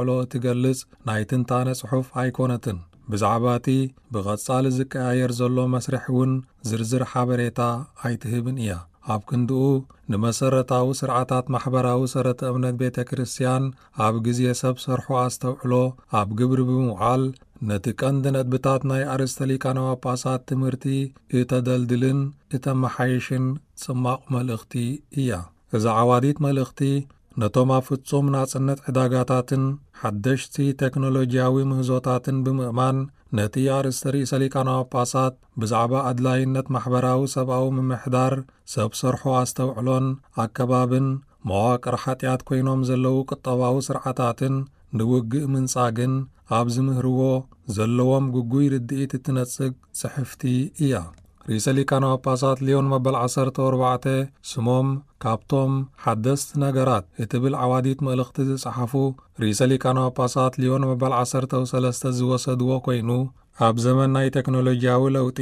ኣስተውዕሎ እትገልጽ ናይ ትንታነ ጽሑፍ ኣይኮነትን። ብዛዕባ እቲ ብቐጻሊ ዝቀያየር ዘሎ መስርሕ እውን ዝርዝር ሓበሬታ ኣይትህብን እያ። ኣብ ክንድኡ፣ ንመሰረታዊ ስርዓታት ማሕበራዊ ሰረተ እምነት ቤተ ክርስቲያን ኣብ ግዜ ሰብ ሰርሖ ኣስተውዕሎ ኣብ ግብሪ ብምውዓል፣ ነቲ ቀንዲ ነጥብታት ናይ ኣርእስተ ሊቃነ ጳጳሳት ትምህርቲ እተደልድልን እተመሓይሽን ጽማቕ መልእኽቲ እያ። እዛ ዓዋዲት መልእኽቲ፣ ነቶም ኣብ ፍጹም ናጽነት ዕዳጋታትን ሓደሽቲ ቴክኖሎጂያዊ ምህዞታትን ብምእማን፣ ነቲ ኣርእስተ ርእሰ ሊቃነ ጳጳሳት ብዛዕባ ኣድላይነት ማሕበራዊ ሰብኣዊ ምምሕዳር፣ ሰብ ሰርሖ ኣስተውዕሎን ኣከባብን፣ መዋቅር ሓጢኣት ኮይኖም ዘለዉ ቁጠባዊ ስርዓታትን ንውግእ ምንጻግን ኣብ ዝምህርዎ ዘለዎም ግጉይ ርድኢት እትነጽግ ጽሕፍቲ እያ። ርእሰ ሊቃነ ጳጳሳት ሊዮን መበል ዓሰርተ ኣርባዕተ ስሞም ካብቶም ሓደስቲ ነገራት እትብል ዓዋዲት መልእኽቲ ዝጸሓፉ ርእሰ ሊቃነ ጳጳሳት ሊዮን መበል ዓሰርተ ሰለስተ ዝወሰድዎ ኮይኑ፣ ኣብ ዘመን ናይ ቴክኖሎጂያዊ ለውጢ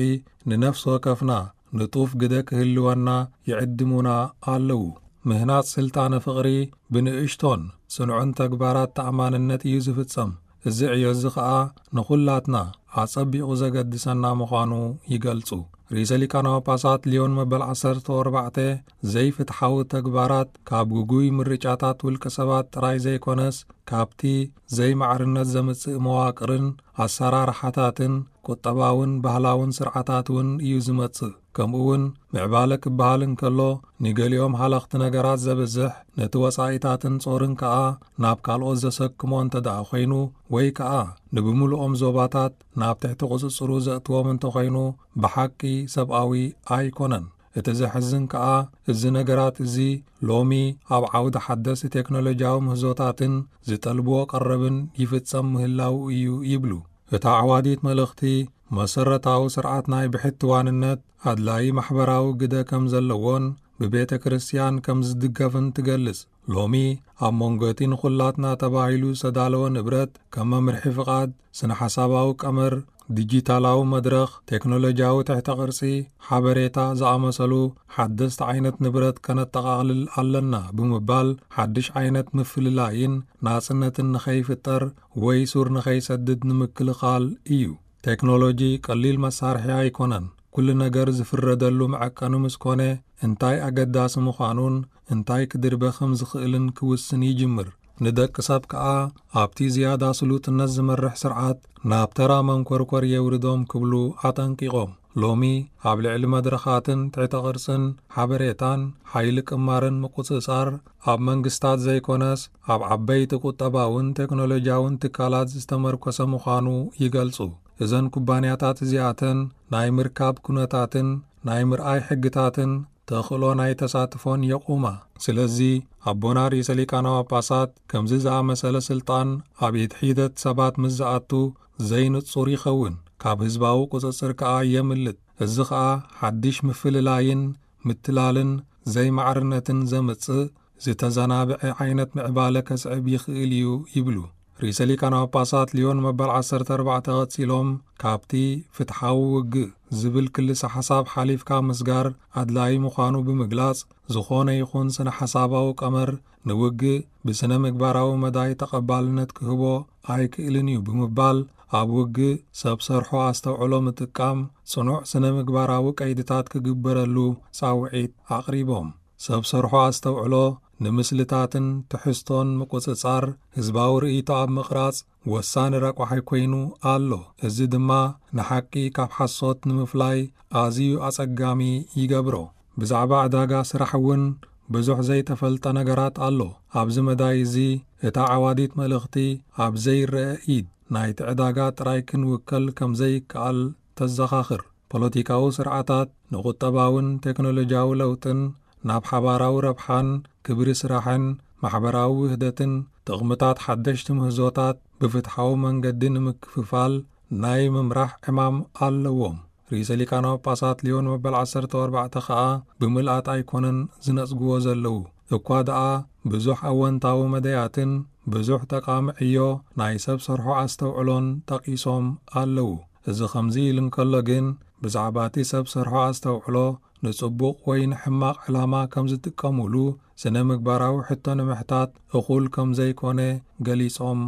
ንነፍሲ ወከፍና ንጡፍ ግደ ክህልወና ይዕድሙና ኣለዉ። ምህናጽ ስልጣነ ፍቕሪ ብንእሽቶን ጽኑዕን ተግባራት ተኣማንነት እዩ ዝፍጸም። እዚ ዕዮ እዚ ኸኣ ንኹላትና ኣጸቢቑ ዘገድሰና ምዃኑ ይገልጹ። ርእሰ ሊቃነ ጳጳሳት ሊዮን መበል ዓሰርተ ኣርባዕተ ዘይፍትሓዊ ተግባራት ካብ ግጉይ ምርጫታት ውልቀ ሰባት ጥራይ ዘይኮነስ፣ ካብቲ ዘይማዕርነት ዘምጽእ መዋቅርን ኣሰራርሓታትን ቁጠባውን ባህላውን ስርዓታት እውን እዩ ዝመጽእ። ከምኡ እውን ምዕባለ ክበሃል እንከሎ፣ ንገሊኦም ሃለኽቲ ነገራት ዘብዝሕ፣ ነቲ ወጻኢታትን ጾርን ከኣ ናብ ካልኦት ዘሰክሞ እንተ ደኣ ኾይኑ፣ ወይ ከኣ ንብምሉኦም ዞባታት ናብ ትሕቲ ቁጽጽሩ ዘእትዎም እንተኾይኑ፣ ብሓቂ ሰብኣዊ ኣይኮነን። እቲ ዘሕዝን ከኣ፣ እዚ ነገራት እዚ ሎሚ ኣብ ዓውዲ ሓደስቲ ቴክኖሎጂያዊ ምህዞታትን ዝጠልብዎ ቀረብን ይፍጸም ምህላዉ እዩ ይብሉ። እታ ዓዋዲት መልእኽቲ፣ መሰረታዊ ስርዓት ናይ ብሕትዋንነት ኣድላዪ ማሕበራዊ ግደ ከም ዘለዎን ብቤተ ክርስቲያን ከም ዝድገፍን ትገልጽ። ሎሚ ኣብ መንጎ እቲ ንኹላትና ተባሂሉ ዝተዳለወ ንብረት፣ ከም መምርሒ ፍቓድ፣ ስነ ሓሳባዊ ቀመር፣ ዲጂታላዊ መድረኽ፣ ቴክኖሎጂያዊ ትሕተ ቅርጺ፣ ሓበሬታ ዝኣመሰሉ ሓደስቲ ዓይነት ንብረት ከነጠቓቕልል ኣለና ብምባል፣ ሓድሽ ዓይነት ምፍልላይን ናጽነትን ንኸይፍጠር ወይ ሱር ንኸይሰድድ ንምክልኻል እዩ። ቴክኖሎጂ ቀሊል መሳርሒ ኣይኮነን። ኩሉ ነገር ዝፍረደሉ መዐቀኒ ምስ ኮነ፣ እንታይ ኣገዳሲ ምዃኑን እንታይ ክድርበ ከም ዝኽእልን ክውስን ይጅምር። ንደቂ ሰብ ከኣ ኣብቲ ዝያዳ ስሉጥነት ዝመርሕ ስርዓት ናብ ተራ መንኮርኮር የውርዶም ክብሉ ኣጠንቂቖም። ሎሚ ኣብ ልዕሊ መድረኻትን ትሕተ ቅርጽን ሓበሬታን ሓይሊ ቅማርን ምቁጽጻር ኣብ መንግስታት ዘይኮነስ ኣብ ዓበይቲ ቁጠባውን ቴክኖሎጂያውን ትካላት ዝተመርኮሰ ምዃኑ ይገልጹ። እዘን ኩባንያታት እዚኣተን ናይ ምርካብ ኩነታትን ናይ ምርኣይ ሕግታትን ተኽእሎ ናይ ተሳትፎን የቑማ። ስለዚ ኣቦና ርእሰ ሊቃነ ጳጳሳት ከምዚ ዝኣመሰለ ስልጣን ኣብ ኢድ ሒደት ሰባት ምስ ዝኣቱ ዘይንጹር ይኸውን፣ ካብ ህዝባዊ ቁጽጽር ከኣ የምልጥ። እዚ ኸኣ ሓድሽ ምፍልላይን ምትላልን ዘይማዕርነትን ዘምጽእ ዝተዘናብዐ ዓይነት ምዕባለ ከስዕብ ይኽእል እዩ ይብሉ። ርእሰ ሊቃነ ጳጳሳት ሊዮን መበል ዓሰርተ ኣርባዕተ ቀጺሎም፣ ካብቲ ፍትሓዊ ውግእ ዝብል ክልሰ ሓሳብ ሓሊፍካ ምስጋር ኣድላዪ ምዃኑ ብምግላጽ፣ ዝኾነ ይኹን ስነ ሓሳባዊ ቀመር ንውግእ ብስነ ምግባራዊ መዳይ ተቐባልነት ክህቦ ኣይክእልን እዩ ብምባል፣ ኣብ ውግእ ሰብ ሰርሖ ኣስተውዕሎ ምጥቃም ጽኑዕ ስነ ምግባራዊ ቀይድታት ክግበረሉ ጻውዒት ኣቕሪቦም። ሰብ ሰርሖ ኣስተውዕሎ ንምስልታትን ትሕዝቶን ምቁጽጻር ህዝባዊ ርእይቶ ኣብ ምቕራጽ ወሳኒ ረቋሒ ኮይኑ ኣሎ። እዚ ድማ ንሓቂ ካብ ሓሶት ንምፍላይ ኣዝዩ ኣጸጋሚ ይገብሮ። ብዛዕባ ዕዳጋ ስራሕ እውን ብዙሕ ዘይተፈልጠ ነገራት ኣሎ። ኣብዚ መዳይ እዚ እታ ዓዋዲት መልእኽቲ ኣብ ዘይረአ ኢድ ናይቲ ዕዳጋ ጥራይ ክንውከል ከም ዘይከኣል ተዘኻኽር። ፖለቲካዊ ስርዓታት ንቁጠባውን ቴክኖሎጂያዊ ለውጥን ናብ ሓባራዊ ረብሓን ክብሪ ስራሕን ማሕበራዊ ውህደትን ጥቕምታት ሓደሽቲ ምህዞታት ብፍትሓዊ መንገዲ ንምክፍፋል ናይ ምምራሕ ዕማም ኣለዎም። ርእሰ ሊቃነ ጳጳሳት ሊዮን መበል ዓሰርተ ኣርባዕተ ኸኣ ብምልኣት ኣይኮነን ዝነጽግዎ ዘለዉ፣ እኳ ደኣ ብዙሕ ኣወንታዊ መደያትን ብዙሕ ጠቓሚ ዕዮ ናይ ሰብ ሰርሖ ኣስተውዕሎን ጠቒሶም ኣለዉ። እዚ ከምዚ ኢሉ እንከሎ ግን፣ ብዛዕባ እቲ ሰብ ሰርሖ ኣስተውዕሎ ንጽቡቕ ወይ ንሕማቕ ዕላማ ከም ዝጥቀሙሉ ስነ ምግባራዊ ሕቶ ንምሕታት እኹል ከም ዘይኮነ ገሊጾም